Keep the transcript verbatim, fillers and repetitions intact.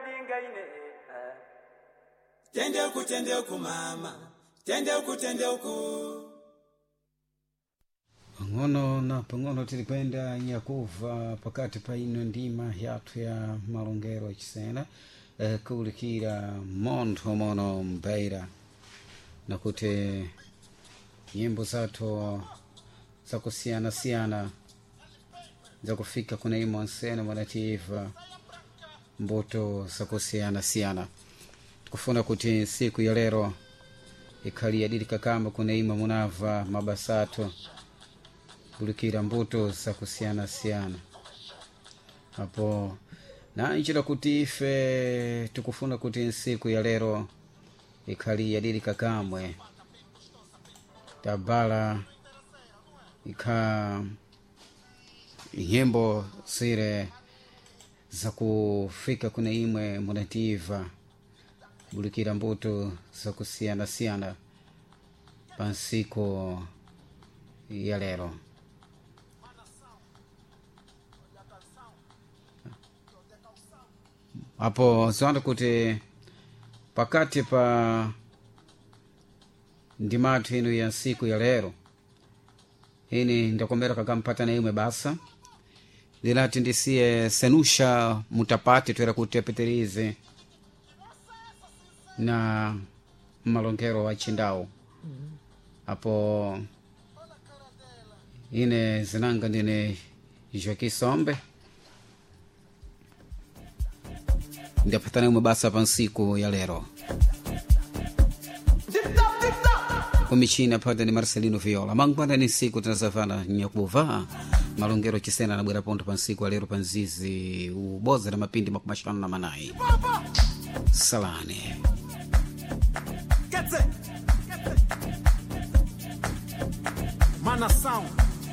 Dingaine. Tende uku, tende uku mama, tende uku, tende uku. Pang'ono na pang'ono tili kwenda nyakuva pakati pa ino ndima yathu ya malongero achisena, eh, kuwulikira montho mono mbeira nakuti nyimbo zathu zakusiyanasiyana zakufika kuna imo nsena mwanativa mbuto zakusiyanasiyana. Tikufuna kuti nsiku ya lero ikhali yadilika kama kuna imo munava mabasa athu kulikira mbuto zakusiyanasiyana apo nanjira kuti ife tikufuna kuti nsiku ya lero ikhali yadilika kamwe tabala ikha nyimbo zire zakufika kuna imwe munativa bulikira mbuto zakusiyanasiyana pa nsiku ya lero. Apo ziwanda kuti pakati pa ndimathu ino ya nsiku ya lero ini ndakomera kakampata na imwe basa ndinati ndisiye senusha mutapati twera kuti apeterize na malongero wa chindau apo ine zinanga ndine Joaquim Sombe ndapatana imwe basa pa nsiku ya lero kumichina phata ni Marcelino Viola mangwana ni nsiku tinasafana nyakuva malongero chisena anabwera pontho pa nsiku alero pa nzizi uboza na mapindi makumi axanu na manayi. Salani. Quer dizer, Manação.